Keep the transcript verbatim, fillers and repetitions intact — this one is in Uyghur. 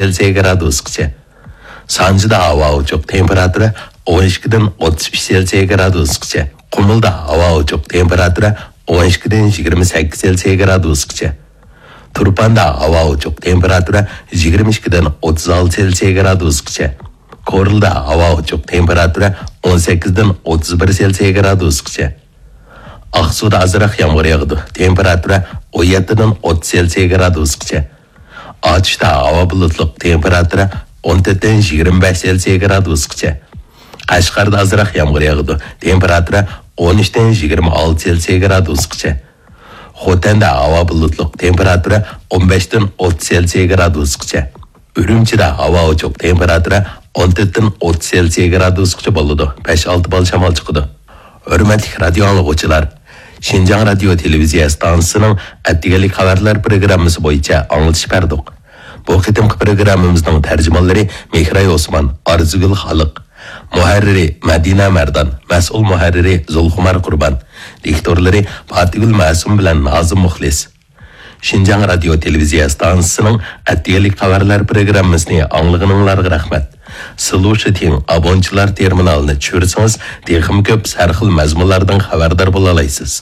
سېلسىيە گرادۇسقىچە. سانجىدا ھاۋا ئوچۇق، تېمپېراتۇرا ئون ئىككىدىن ئوتتۇز ئۈچ سېلسىيە گرادۇسقىچە. قۇمۇلدا ھاۋا ئوچۇق، تېمپېراتۇرا ئون ئىككىدىن يىگىرمە سەككىز سېلسىيە گرادۇسقىچە. تۇرپاندا ھاۋا ئوچۇق، تېمپېراتۇرا يىگىرمە ئىككىدىن ئوتتۇز ئالتە سېلسىيە گرادۇسقىچە. كورلىدا ھاۋا ئوچۇق، تېمپېراتۇرا ئون سەككىزدىن ئوتتۇز بىر سېلسىيە گرادۇسقىچە. ئاقسۇدا ئازراق يامغۇر ياغىدۇ، تېمپېراتۇرا ئون يەتتىدىن ئوتتۇز سېلسىيە گرادۇسقىچە. ئاتۇشتا ھاۋا بۇلۇتلۇق، تېمپېراتۇرا ئون تۆتتىن يىگىرمە بەش سېلسىيە گرادۇسقىچە. قەشقەردە ئازراق يامغۇر ياغىدۇ، تېمپېراتۇرا ئون ئۈچتىن يىگىرمە ئالتە سېلسىيە گرادۇسقىچە. خوتەندە ھاۋا بۇلۇتلۇق، تېمپېراتۇرا ئون بەشتىن ئوتتۇز سېلسىيە گرادۇسقىچە. ئۈرۈمچىدە ھاۋا ئوچۇق، تېمپېراتۇرا ئون تۆتتىن ئوتتۇز سېلسىيە گرادۇسقىچە بولىدۇ. بەش ئالتە بال شامال چىقىدۇ. ھۆرمەتلىك رادىيو ئاڭلىغۇچىلار، شىنجاڭ رادىيو تېلېۋىزىيە ئىستانسىسىنىڭ ئەتىگەنلىك خەۋەرلەر پروگراممىسى بويىچە ئاڭلىتىش بەردۇق. بۇ قېتىمقى پروگراممىمىزنىڭ تەرجىمانلىرى مېھراي ئوسمان، ئارزۇگۈل خالىق، مۇھەررىرى مەدىنە مەردان، مەسئۇل مۇھەررىرى زۇلخۇمار قۇربان، دىكتورلىرى پاتىگۈل مەسۇم بىلەن نازىم مۇخلىس. شىنجاڭ رادىيو تېلېۋىزىيە ئىستانسىسىنىڭ ئەتىگەنلىك خەۋەرلەر پروگراممىسىنى ئاڭلىغىنىڭلارغا رەھمەت. سىلۇشىتىڭ ئابونچىلار تېرمىنالىنى چۈشۈرسىڭىز، تېخىمۇ كۆپ سەرخىل مەزمۇنلاردىن خەۋەردار بولالايسىز.